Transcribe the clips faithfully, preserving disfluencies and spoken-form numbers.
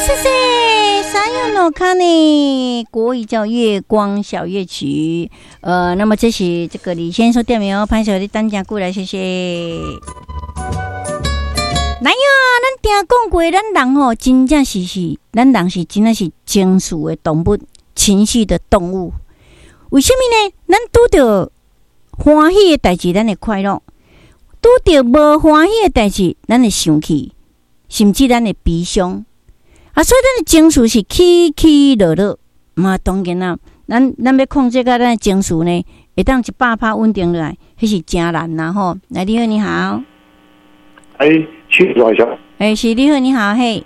謝謝。三用諾卡呢？國語叫《月光小夜曲》。呃，那麼這是這個李先生點名哦，歹勢你等誠久來，謝謝。來呀，咱聽講過，咱人吼真正是是，咱人是真正是情緒的動物，情緒的動物。為啥物呢？咱拄著歡喜的代誌，咱會快樂；拄著無歡喜的代誌，咱會生氣，甚至咱會悲傷。啊，所以咱的情緒是起起落落。嘛，當然啦，咱咱欲控制甲咱的情緒呢，會當一百趴穩定落來，彼是誠難啦吼。來，你好，你好。哎，慶大祥。哎，是你好，你好，嘿。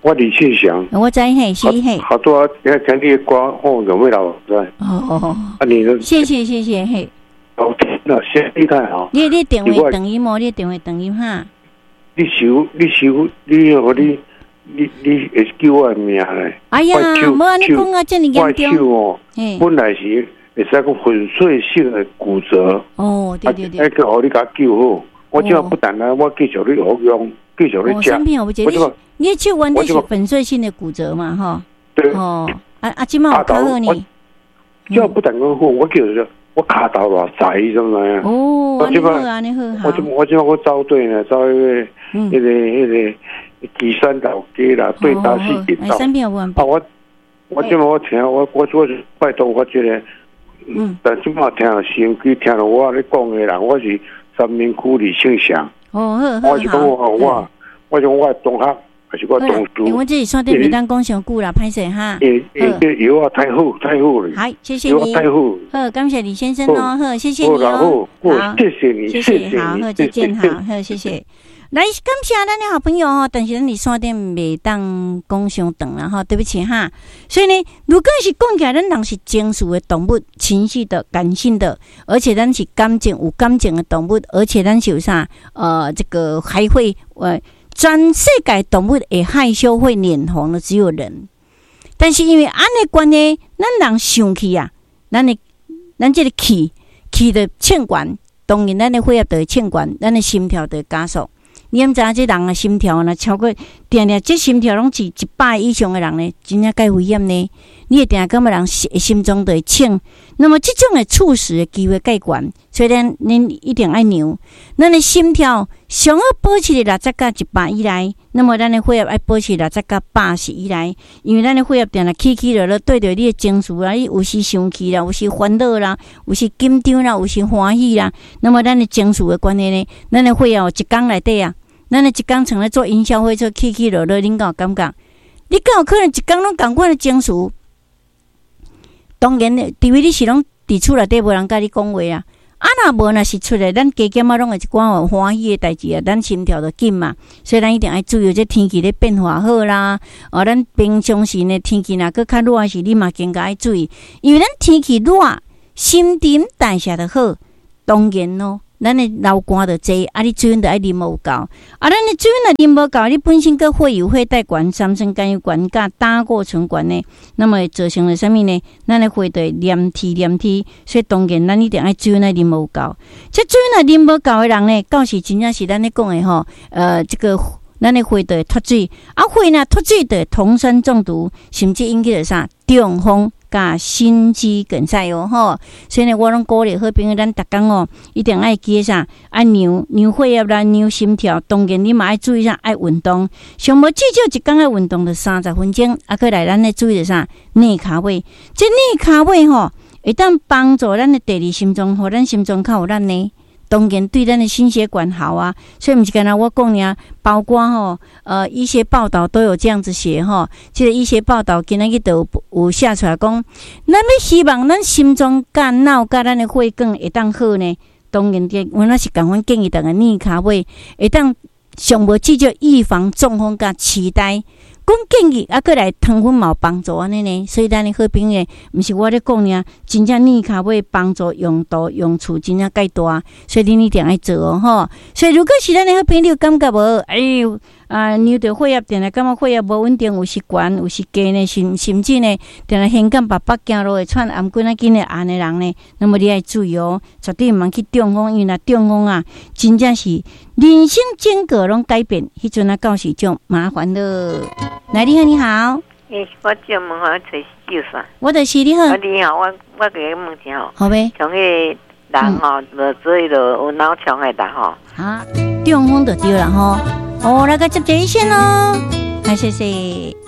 我李慶祥。我知嘿，是嘿。好多啊，聽聽你的歌，吼，有味道在。哦哦哦。啊，你的。謝謝謝謝嘿。哦，那先你太好。你你電話斷音無？你電話斷音哈。你收你收你予你你你會叫我的名咧？哎呀，無按呢講啊，遮爾嚴重。我手哦，本來是會使講粉碎性的骨折。哦，對對對。啊，閣予你共救好，我這不但啊，我繼續咧服用，繼續咧食。我這你手原底是粉碎性的骨折嘛？吼。對。哦，啊啊，這馬有較好呢。這不但講好，我叫做我跤頭偌濟，你知毋知影？哦，按呢好，按呢好。我這我這我走對呢，走彼個、彼個、彼個旗山老街啦，對打四街道。啊，我我這馬我聽我我我拜託我這個，嗯，但這馬聽收音機聽著我咧講的人，我是三民區李慶祥。哦，好，我是講我我我講我同學。還是我同事。我這是山頂袂當講傷久啦，歹勢哈。欸欸，藥啊太好，太好了。好，謝謝你。太好。好，感謝李先生哦，好，謝謝你哦。好，謝謝你，謝謝，好，好，再見，好，好，謝謝。來，感謝咱的好朋友哦，但是咱佇山頂袂當講傷長啦，吼，對不起哈。所以呢，如果是講起來，咱人是情緒的動物，情緒的、感性的，而且咱是感情有感情的動物，而且咱是有啥？呃，這個還會呃。全世界動物會害羞、會臉紅的只有人，但是因為按呢關係，咱人生氣啊，咱的咱這個氣氣著衝懸，當然咱的血壓就會衝懸，咱的心跳就會加速。你毋知影這人的心跳若超過，定定這心跳攏是一百以上的人呢，真正蓋危險呢。你會定感覺人心臟就會衝，那麼這種會猝死的機會蓋懸，所以咱恁一定愛量。咱的心跳上好保持佇六十佮一百以內，那麼咱的血壓愛保持六十佮八十以內，因為咱的血壓定定起起落落，對著你的情緒啊，你有時生氣啦，有時煩惱啦，有時緊張啦，有時歡喜啦，那麼咱的情緒的關係呢，咱的血壓一工內底啊，咱的一工像咧坐雲霄飛車起起落落，恁敢有感覺？你敢有可能一工攏仝款的情緒？當然，除非你是攏佇厝內底無人佮你講話啊。啊，若無若是出來，咱加減仔攏會一寡有歡喜的代誌啊，咱心跳就緊嘛。所以咱一定愛注意這天氣咧變化好啦。哦，咱平常時呢天氣若閣較熱時，你嘛更加愛注意，因為咱天氣熱，新陳代謝就好，當然咯。咱的流汗就濟，啊，你水分就愛啉有夠，啊，咱的水分若啉無夠，你本身閣血油血帶懸、三酸甘油懸、佮膽固醇懸呢，那麼會造成了啥物呢？咱的血就會黏黐黏黐，所以當然咱一定愛水分愛啉有夠。這水分若啉無夠的人呢，到時真正是咱咧講的吼，呃，這個咱的血就會脫水，啊，血若脫水就會酮酸中毒，甚至引起著啥中風。佮心肌梗塞哦吼，所以呢，我攏鼓勵好朋友，咱逐工哦，一定愛記啥，愛量量血壓啦，量心跳。當然你嘛愛注意啥，愛運動。上無至少一工愛運動著三十分鐘。啊，閣來咱咧注意著啥？躡跤尾，這躡跤尾吼，會當幫助咱的第二心臟，予咱心臟較有力呢。當然對咱的心血管好啊，所以毋是干焦我講爾，包括吼，呃，醫學報導都有這樣子寫吼。這個醫學報導今仔日都有有寫出來講，咱欲希望咱心臟佮腦佮咱的血管會當好呢。當然，這阮也是仝款建議逐家躡跤尾，會當上無至少預防中風佮癡呆。講建議啊，閣來糖分嘛有幫助按呢呢，所以咱的好朋友，毋是我咧講爾，真正躡跤尾幫助用途用處真正蓋大，所以恁一定愛做哦吼。所以如果是咱的好朋友感覺無，哎喲，啊，量著血壓定定感覺血壓無穩定，有時懸，有時低呢，甚甚至呢，定定胸感腹腹行路會喘，頷頸仔緊會紅的人呢，那麼你愛注意哦，絕對毋通去中風，因為若中風啊，真正是人生整個攏改變，彼陣啊到時就麻煩了。來，你好，你好。欸，我借問我揣救啥？我就是你好。啊，你好，我我共你問一下吼。好唄。像彼个人吼，無做彼个有腦腸的人吼。啊，中風就對了吼。哦，來個接一線咯。來，謝謝。